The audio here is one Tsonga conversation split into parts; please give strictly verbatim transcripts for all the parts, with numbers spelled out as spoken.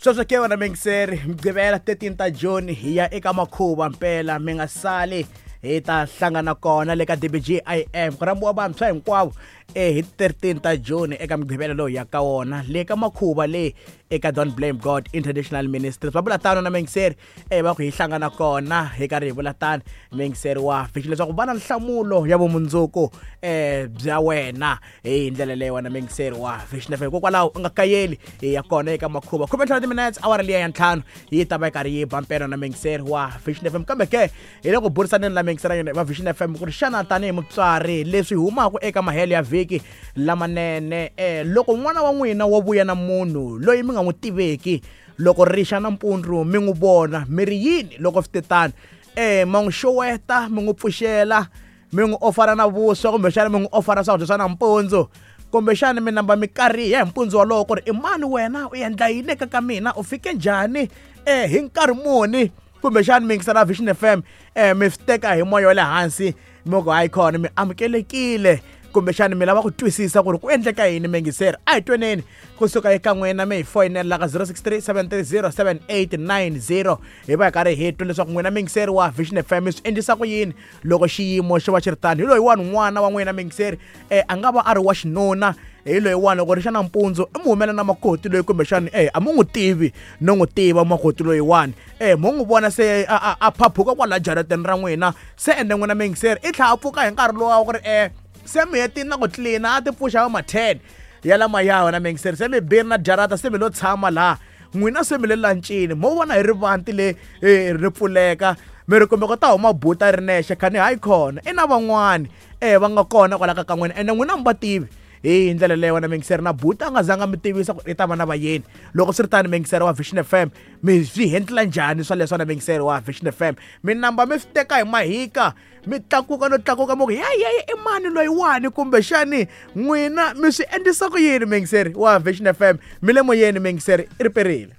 Sweswo ke wena mingiseri Mugqivela thirteen ta June hi ya eka makhuva mpela mi nga sali hi ta hlangana kona le ka D B G I M ku rhambiwa vantshwa hinkwavo eh hi thirteen ta June eka Mugqivela lowu ya ka wona le ka makhuva le eka Don't Blame God International Ministries. Va vula tano na mingiseri eh va ku hi hlangana kona hi karhi hi vula tano mingiseri wa fichi leswaku va na nhlamulo ya vumundzuku eh bya wena hi ndlela leyi wena mingiseri wa Vision F M. Hikokwalaho u nga kayeli hi ya kona eka makhuva khume ntlhanu minutes awara liya ya ntlhanu yi ta va yi karhi yi ba mpela na mingiseri wa Vision F M. Kambe ke hi le ku burisaneni la mingiseri va Vision F M ku ri xana tanihi mutswari leswi humaka eka mahelo ya vhiki lamanene eh loko n'wana wa n'wina wo vuya na munhu loyi mi nga n'wi tiveki loko rixa nampundzu mi n'wi vona mi ri yini loko swi te tano eh ma n'wi xoweta mi n'wi pfuxela mi n'wi ofara na vuswa kumbexana mi n'wi ofara swakudya swa nampundzu kumbexana mi namba mi kariha hi mpundzu wolowo ku ri i mani wena u endla yini eka ka mina u fike njhani eh hi nkarhi muni kumbexana mi yingisela Vision F M eh mi swi teka hi moya wa le hansi mi ku hayi khona mi amukelekile kumbexana mi lava ku twisisa ku ri ku endleka yini mingiseri. A hi tweneni kusuka eka n'wina mi hi foyinela ka zero six three seven three zero seven eight nine zero hi va hi karhi hi twa leswaku n'wina mingiseri wa Vision F M mi swi endlisa ku yini loko xiyimo xo va xi ri tano. Hi loyiwani n'wana wa n'wina mingiseri eh a nga va a ri wa xinuna hi loyiwani loko ri xa nampundzu i mu humela na makoti loyi kumbexana eh a mu n'wi tivi no n'wi tiva makoti loyiwani eh mo n'wi vona se a a phaphuka kwala jarateni ra n'wina se ende n'wina mingiseri i tlhela a pfuka hi nkarhi lowa ku ri eh se mi hetini na ku tlilina a ti pfuxa va ma ten ya lama ya wena mingiseri se mi biri na jarata se mi lo tshama laha n'wina se mi le lancini mo vona hi rivanti le ri pfuleka mi ri kumbe ku ta huma buta ri nexe khani hayi khona i na van'wani eh va nga kona kwala ka ka n'wina ende n'wina mi va tivi hi ndlela leyo wena mingiseri na buta a nga zanga mi tivisa ku i ta va na vayeni loko swi ri tani mingiseri wa Vision F M mi swi hendlela njhani swa leswi na mingiseri wa Vision F M mi namba mi swi teka hi mahika mi tlakuka no tlakuka mi ku ya ya i mani loyiwani kumbexani n'wina mi swi endlisa ku yini mingiseri wa Vision F M mi le moyeni mingiseri i ri perile.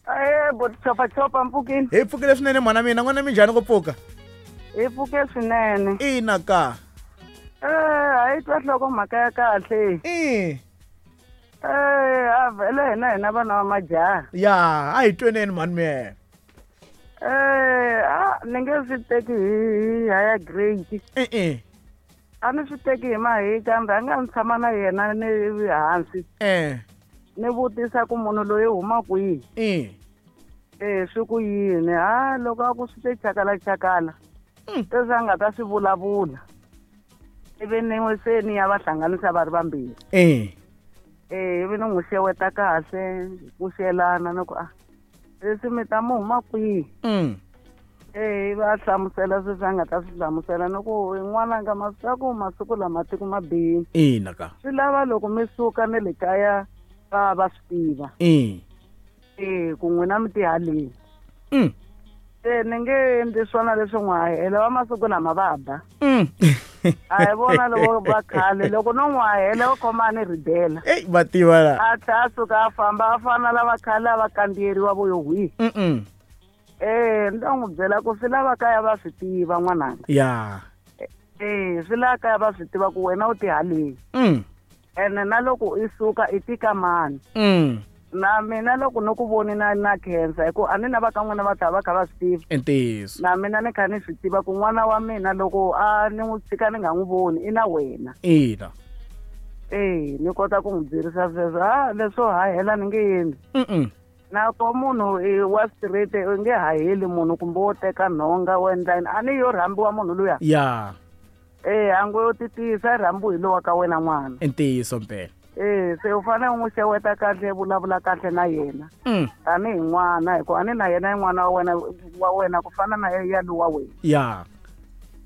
Eh bo chopa chopa mpfukini hi pfukile swinene mhana mina n'wana mi njhani ku pfuka hi pfuke swinene ina ka eh a yi twa nhloko mhaka ya kahle eh eh a vhele hina hina vana va majaha ya a hi tweneni mhani mina eh a ni nge swi teki hi higher grade eh eh a ni swi teki hi mahi kambe a nga ni tshama na yena ni hansi eh ni vutisa ku munhu loyi huma kwihi eh eh swi ku yini ha loko a ku swi te chakala chakala leswi a nga ta swi vulavula ivi ni n'wi se ni ya va hlanganisa va ri vambirhi eh eh ivi ni n'wi xeweta kahle ku xelana ni ku a leswi mi ta mu huma kwihi eh va hlamusela sweswi a nga ta swi hlamusela ni ku n'wananga masiku masiku lama tiko ma bihile ina ka swi lava loko mi suka ni le kaya va va swi tiva eh eh ku n'wina mi tihaleni se ni nge endli swona leswi n'wi hahela va masiku lama va ba a hi vona loko va khale loko no n'wi hahela va khoma a ni ridela eyi va tiva la a tlhela a suka a famba a fana lava khale a va kandziyeriwa vo yo hwihi eh ni ta n'wi byela ku swi lava kaya va swi tiva n'wananga ya eh swi lava kaya va swi tiva ku wena u tihaleni ene na loko i suka i tika mani na mina loko ni ku voni na na khensa hi ku a ni na va ka n'wina va ta va kha va swi tiva i ntiyiso na mina ni kha ni swi tiva ku n'wana wa mina loko a ni n'wi tshika ni nga n'wi voni i na wena ina eh ni kota ku n'wi byerisa sweswo a leswo hahela ni nge endli na ko munhu wa straight u nge haheli munhu kumbe wo teka nhonga wo endla yini a ni yo rhambiwa munhu luya ya eh a ngo yo titisa rhambiwa hi lowa ka wena n'wana i ntiyiso mpela eh se u fanele u n'wi xeweta kahle vulavula kahle na yena tanihi n'wana hikuva a ni na yena i n'wana wa wena wa wena ku fana na ya lowa wena ya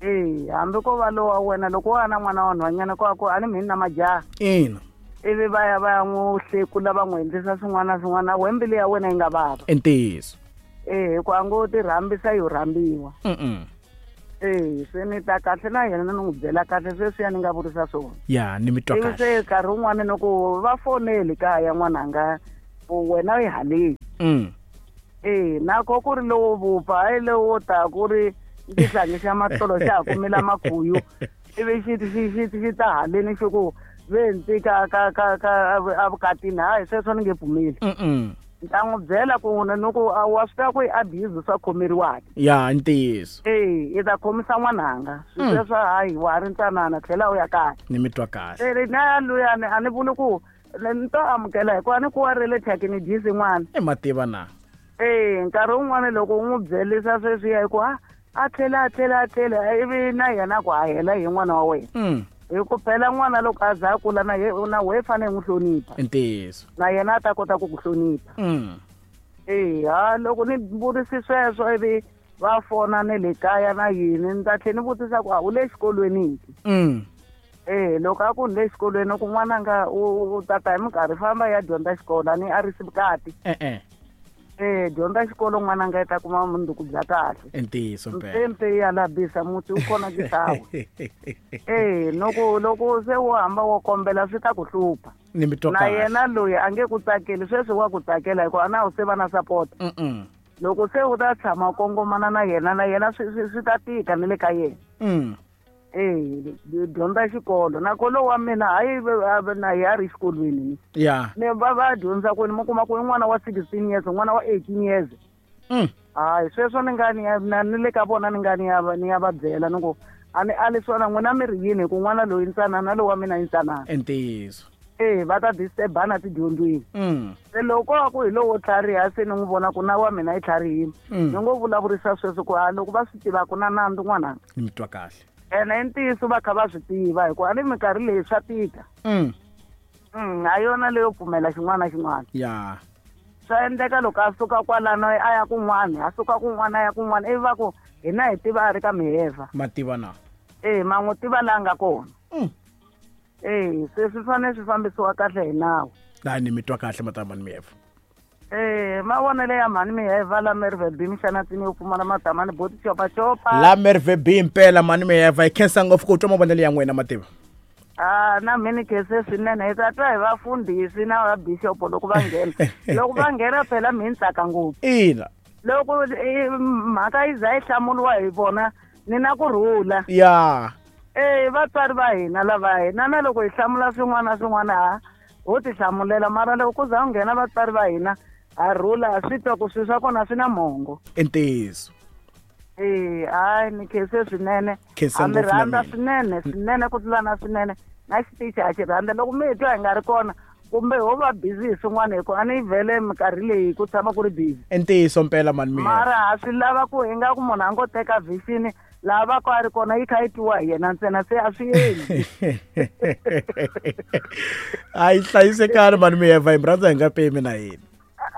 eh hambi ko va lowa wena loko wa na n'wana wa nhwanyana ko ku a ni mhini na majaha ina ivi va ya va ya n'wi hlekula va n'wi endlisa swin'wana na swin'wana we mbilu ya wena yi nga vava i ntiyiso eh hikuva a ngo ti rhambisa yo rhambiwa eh se ni ta kahle na yena ni n'wi byela kahle sweswiya ni nga vurisa swona ya ni mi twa ivi se nkarhi wun'wani ni ku va foneli kaya n'wananga ku wena u yi haleni eh nako ku ri lowo vupfa hayi lowo ta ku ri xihlangi xa matolo xa ha kumila makhuyu ivi xi xi xi xi ta haleni xi ku ve ndzi ka ka ka ka evukatini hayi sweswo ni nge pfumeli. Mm. Ni ta n'wi byela ku ni ku wa swi tiva ku i abuse swa khomeriwaka. Ya ntiyiso. Eh, i ta khomisa n'wananga. Swi sweswo hayi wa ha ri ntsanana tlhela u ya kaya. Ni mi twa kahle. Eh, na luyani a ni vuli ku ni to amukela hikuva ni ku wa ri le thyakini dyisi n'wana. I mativa na. Eh, nkarhi wun'wani loko u n'wi byelisa sweswiya hi ku a a tlhela a tlhela a tlhela ivi na yena ku a hela hi n'wana wa wena. Mm. Hi ku phela n'wana loko a za a kula na ye na wehe fanele n'wi hlonipha. Ntiyiso. Na yena a ta kota ku ku hlonipha. Mm. Eh, ha loko ni vurisi sweswo ivi va fona ne le kaya na yini ni ta tlhela ni vutisa ku a u le xikolweni ki. Mm. Eh, loko a ku ni le xikolweni ku n'wananga u tata hi minkarhi famba ya dyondza xikolo a ni a risi vukati. Eh eh. Eh, dyondza xikolo n'wananga i ta kuma mundzuku bya kahle. Ntiyiso mpela. Mpempe ya labisa muti wu kona kisawa. Eh, loko loko se wo hamba wo kombela swi ta ku hlupha. Ni mi twa Na kahle. yena loyi a nge ku tsakeli sweswi wa ku tsakela hikuva a na wu se va na support. Mm. Loko se u ta tshama u kongomana na yena na yena swi swi swi ta tika ni le ka yena. Mm. Eh, dyondza xikolo na kolo wa mina hayi na ya ri xikolweni ni. Ya. Ne va va dyondza ku ni mi kuma ku i n'wana wa sixteen years n'wana wa eighteen years. Mm. Hayi sweswo ni nga ni ya na ni le ka vona ni nga ni ya ni ya va byela ni ku a ni ali swona n'wina mi ri yini hi ku n'wana loyi ntsanana lowu wa mina i ntsanana. Ntiyiso. Eh, va ta disturbana tidyondzweni. Mm. Se loko a ku hi lowo tlhariha se ni n'wi vona ku na wa mina i tlharihile. Mm. Ni ngo vulavurisa sweswo ku a loko va swi tiva ku na nandzu n'wananga. Ni mi twa kahle. Ene i ntiyiso va kha va swi tiva hikuva a ni minkarhi leyi swa tika. Mm. Mm, a yona leyo pfumela xin'wana na xin'wana. Ya. Swa endleka loko a suka kwalano a ya kun'wana, a suka kun'wana a ya kun'wana ivi va ku hina hi tiva a ri ka miheva. Mativa na. Eh, ma n'wi tiva laha nga kona. Mm. Eh, se swi fanele swi fambisiwa kahle hi nawu. La ni mi twa kahle matamani miheva. Eh, mavonelo ya mhani miheva la Merve B mixanatsini yo pfumala matamani boti chopa chopa. La Merve B mpela mhani miheva hi khensa ngopfu ku twa mavonelo ya n'wina mativa. Ah, na mina khense swinene hi ta twa hi vafundhisi na va bishop loko va nghena. Loko va nghena phela mi tsaka ngopfu. Ina. Loko mhaka yi za yi hlamuriwa hi vona ni na ku rhula. Ya. Eh, vatswari va hina lava hina na loko hi hlamula swin'wana na swin'wana ha ho ti hlamulela mara loko ku za ku nghena vatswari va hina a rhula swi twa ku swilo swa kona swi na mongo. Ntiyiso. Eh, hayi ni khense swinene. Khensa A mi ngopfu na rhandza mina. swinene swinene ku tlula na swinene na xitichi a xi rhandza loko mi hi twa hi nga ri kona kumbe ho va busy hi swin'wana hi ku a ni vhele minkarhi leyi ku tshama ku ri busy. Ntiyiso mpela mhani miheva. Mara ha swi lava ku hi nga ku munhu a ngo teka vision laha va ku a ri kona yi kha yi twiwa hi yena ntsena se a swi endli. A yi hlayisekani mhani miheva hi mi rhandza hi nga pemi na hina.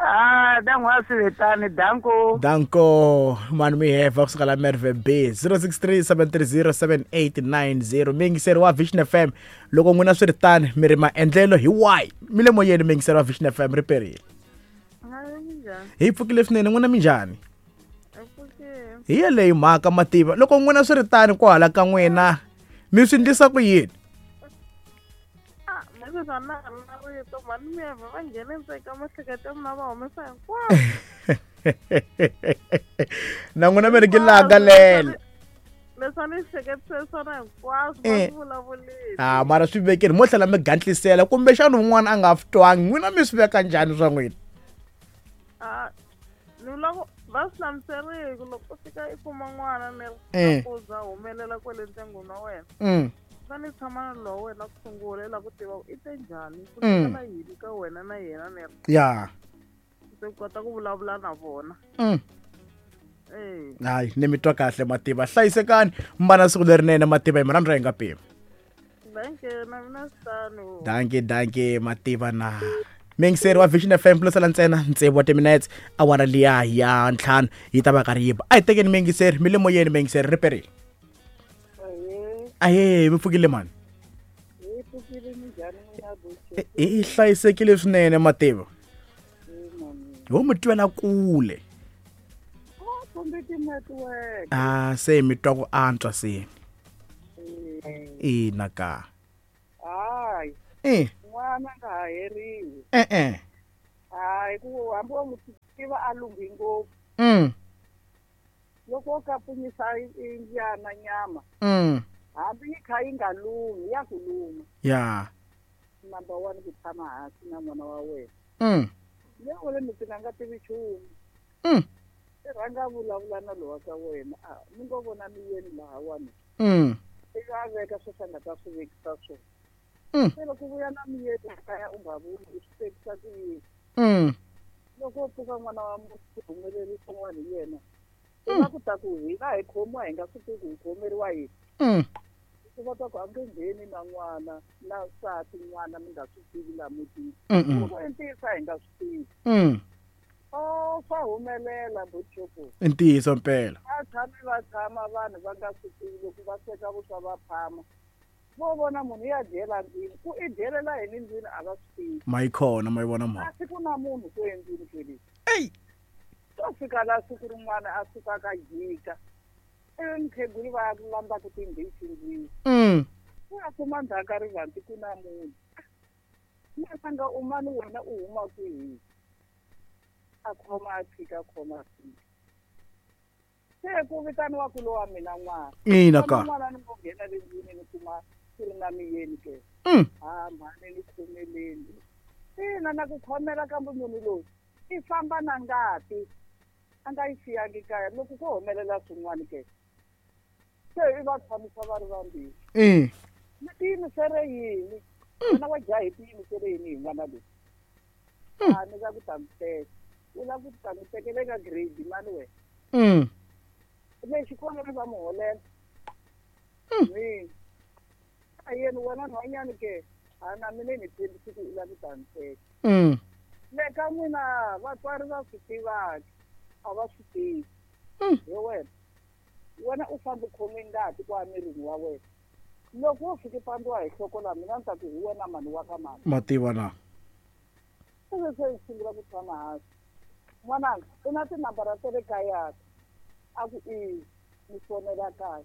Ah, dan'wa swi danko. Danko mhani miheva kusuka la Merve B zero six three seven three zero seven eight nine zero miyingiseri wa Vision F M loko n'wina swi ri tani mi ri maendlelo hi wahi mi le moyeni miyingiseri wa Vision F M ri perile. Hi pfukile swinene n'wina minjhani? Hi yeleyo mhaka mativa loko n'wina swi ri tani kwahala ka n'wina mi swi endlisa ku yini? Na n'wina mi ri ki langalela. Ah, mara swi vekeni mo tlhela mi gantlisela kumbexana un'wana a nga swi twangi n'wina mi swi veka njhani swa n'wina? Ah, ni loko va swi hlamuserile ku loko u fika i kuma n'wana ni ku za humelela kwale ndyangwini wa wena. Mm. Fane tshama na lowa wena ku sungula i lava ku tiva ku i te njhani ku tlhela yini ka wena na yena ni Ya. se ku kota ku vulavula na vona. Mm. Eh. Hayi ni mi twa kahle mativa hlayisekani mbana siku lerinene mativa hi mi rhandza hi nga pimi. Danke na mina swi Danke danke mativa na. Miyingiseri wa Vision F M plus la ntsena tsevu wa timinetse awara liya ya ntlhanu yi ta va karhi yi ba. A hi tekeni miyingiseri mi le moyeni miyingiseri ri perile. Ahe mi pfukile mani? Hi pfukile minjhani n'wina buti? Hi hlayisekile swinene mativa. Ho mi twela kule. Kumbe ti-network. Ah, se mi twa ku antswa se. Ina ka. Hayi. Eh. N'wana nga ha heriwi. Eh eh. Hayi ku hambi wa n'wi tiva a lunghi ngopfu. Mm. Loko wo kapunyisa mbyana nyama. Mm. Hambi yi kha yi nga lunghi ya ku luma. Ya. Number one ku tshama hansi na n'wana wa wena. Mm. Le wena mi tina nga tivi nchumu. Mm. I rhanga vulavula na lowa ka wena a mi ngo vona miyeni lahawani. Mm. I nga veka sweswi a nga ta swi vekisa swona. Mm. Se loko vuya na miyeni kaya u nga vuli u swi tekisa ku yini. Mm. Loko u pfuka n'wana wa munhu humelerisa n'wana hi yena u nga ku ta ku hina hi khomiwa hi nga swi tivi ku hi khomeriwa yini. Mm. Va ta ku a nge ngheni na n'wana na nsati n'wana mi nga swi tivi laha mutini. Mm. Loko i ntiyiso a hi nga swi tivi. Mm. Oh, swa humelela Butchuku. I ntiyiso mpela. Va tshame va tshama vanhu va nga swi tivi loko va sweka vuswa va phama. Vo vona munhu ya dyela ndlwini ku i dyelela yini ndlwini a va swi tivi. Ma yi khona ma yi vona mhaka. A siku na munhu ku endlwini kwele. Ey. To fika la siku rin'wana a suka ka jika. Ivi mukhegulu va ya ku landzaku timbisi ndlwini. Mm. Ku ya kuma ndzhaku ka rivanti ku na munhu. N'wananga u mani wena u huma kwihi? A khoma a tshika a khoma a tshika. Se ku vitaniwa ku lowa mina n'wana. Ina ka. N'wana ni ngo nghena le ndlwini ni kuma ku ri na miyeni ke. Mm. Ha mhani ni khomeleni. Ina na ku khomela kambe munhu loyi i famba na ngati. A nga yi siyangi kaya loko ko humelela swin'wana ke. Se i va tshamisa va ri vambirhi. Mm. Mi tiyimisele yini? Wena wa jaha hi tiyimisele yini hi n'wana loyi? A ni la ku ta n'wi teka. U lava ku ta n'wi tekela eka grade mani wena? Mm. Le xikolweni va n'wi holela. Mm. A yena wena nhwanyana ke a na mina ni tshembisi ku u lava ku ta n'wi teka. Mm. Le ka n'wina vatswari va swi tivaka a va swi tivi. Mm. Hi wena. Wena u famba u khome ngati kwa mirini wa wena. Loko wo fika pandziwa hi nhloko laha mina ni ta ku hi wena mani wa ka mani. Ma tiva na. Se se hi sungula ku tshama hansi. N'wananga u na tinambara ta le kaya a ku i mi fonela kaya.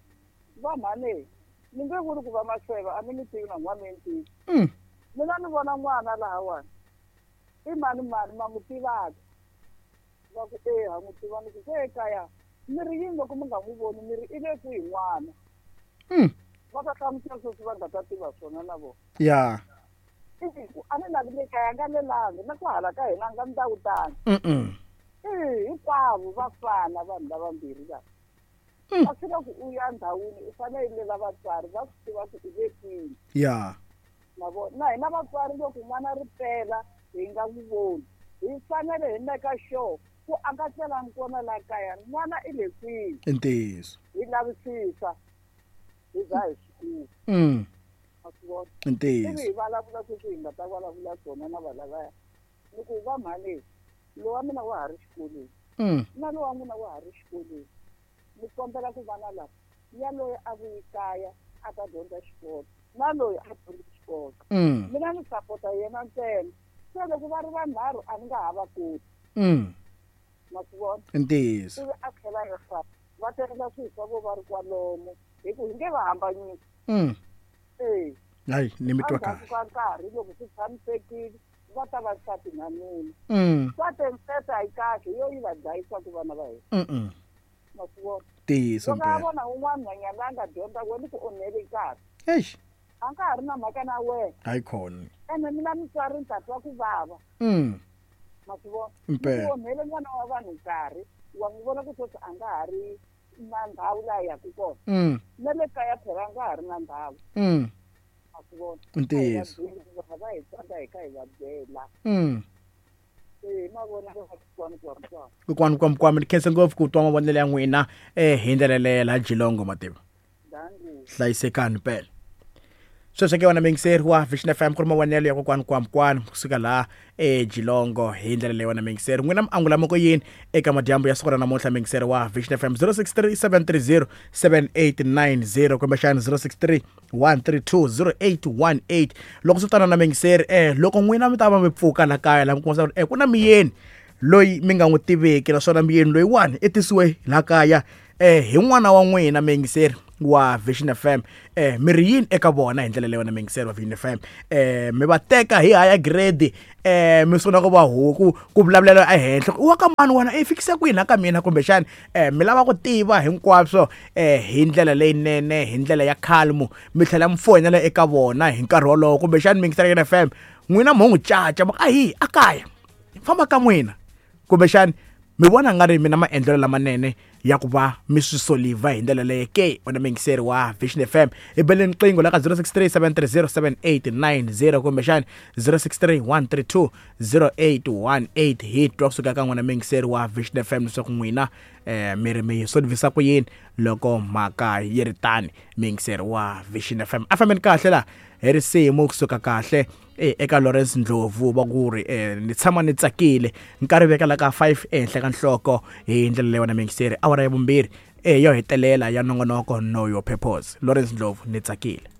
Va mhani ni nge vuli ku va maseva a mi ni tivi na n'wana mi ni tivi. Mm. Mina ni vona n'wana lahawani i mani mani ma n'wi tivaka. Va ku e ha n'wi tiva ni ku se ekaya mi ri yini loko mi nga n'wi voni mi ri i le kwihi n'wana. Mm. Va ta hlamusela sweswi va nga ta tiva swona na vona. Ya. A ni lavi le kaya nga lelangi na ku hala ka hina nga ndawutani. Mm. E hinkwavo va fana vanhu lavambirhi lava. Mm. A swi la ku u ya ndhawini u fanele u lela vatswari va swi tiva ku u le kwihi. Ya. Ma vona na hina vatswari loko n'wana ri pela hi nga n'wi voni hi fanele hi meka sure ku a nga tlelangi kona laha kaya n'wana i le kwihi. I ntiyiso. Hi lavisisa hi za hi swi kuma. Mm. Ma swi vona? I ntiyiso. Ivi hi vulavula sweswi hi nga ta vulavula swona na valavaya. Ni ku va mhani lowa mina wa ha ri xikolweni. Mm. Na lowa n'wina wa ha ri xikolweni. Ni kombela ku vana lava yaloye a vuyi kaya a ta dyondza xikolo na loyi a dyondza xikolo. Mm. Mina ni sapota yena ntsena. Se loko va ri vanharhu a ni nga ha va koti. Mm. Ma swi vona? I ntiyiso. Ivi a tlhela a fa va tekela swilo swa vo va ri kwalomu hi ku hi nge va hambanyisi. Mm. E. Hayi ni mi twa Endzhaku kahle. ka nkarhi loko swi tshamisekile va ta va nsati na nuna. Mm. Swa nsati a yi kahle yo yi va dlayisaka vana va hina. Mm. Ma swi vona? Ntiyiso Loko a mpela. vona un'wana nhwanyana a nga dyondza wena ku onhele nkarhi. Eish. A nga ha ri na mhaka na wena. Hayi khona. Ene mina mutswari ni ta twa ku vava. Mm. Ma swi vona? Mpela. Ku onhele n'wana wa vanhu nkarhi wa n'wi vona ku sweswi a nga ha ri na ndhawu laha yaka kona. Mm. Na le kaya phela a nga ha ri na ndhawu. Mm. Ma swi vona? Ntiyiso. A hi va byeli va hi tsandza hi kha hi va byela. Mm. E ma vona kokwana kwami. Kokwani kwami ni khensa ngopfu ku twa mavonelo ya n'wina eh hi ndlela leyo laha Geelong mativa. Dangu. Hlayisekani mpela. Sweswo ke wena mingiseri wa Vision F M ku ri mavonelo ya kokwani kwamkwani kusuka laha eGeelong hi ndlela leyi wena mingiseri. N'wina mi angula moko yini eka madyambu ya siku ra namuntlha mingiseri wa Vision F M zero six three seven three zero seven eight nine zero kumbexana zero six three one three two zero eight one eight. Loko swi tana na mingiseri eh loko n'wina mi ta va mi pfuka la kaya la mi kuma eh ku na miyeni loyi mi nga n'wi tiveki naswona miyeni loyiwani i tisiwe la kaya eh hi n'wana wa n'wina mingiseri wa Vision F M eh mi ri yini eka vona hi ndlela leyi wena mingiseri wa Vision F M eh mi va teka hi higher grade eh mi sungula ku va huku ku vulavulela ehenhla wa ka mani wena i fikisa kwini ka mina kumbexana eh mi lava ku tiva hinkwaswo eh hi ndlela leyinene hi ndlela ya calm mi tlhela mi foyinela eka vona hi nkarhi wolowo kumbexana mingiseri ya F M n'wina mo n'wi caca a hi a kaya Famba ka n'wina kumbexani mi vona nga ri mina maendlelo lamanene ya ku va mi swi soliva hi ndlela leyi ke? Wena muyingiseri wa Vision F M, hi beleni riqingho la ka zero six three seven three zero seven eight nine zero kumbexani zero six three one three two zero eight one eight. Hi twa kusuka ka n'wina muyingiseri wa Vision F M leswaku n'wina eh mi ri mi solvisa ku yini loko mhaka yi ri tani. Muyingiseri wa Vision F M, a fambeni kahle la hi risimu kusuka kahle eka Lawrence Ndlovu va ku ri eh ni tshama ni tsakile nkarhi vekela ka five ehenhla ka nhloko hi ndlela leyi wena muyingiseri awara ya vumbirhi eh yo hetelela ya nongonoko Know Your Purpose. Lawrence Ndlovu, ni tsakile.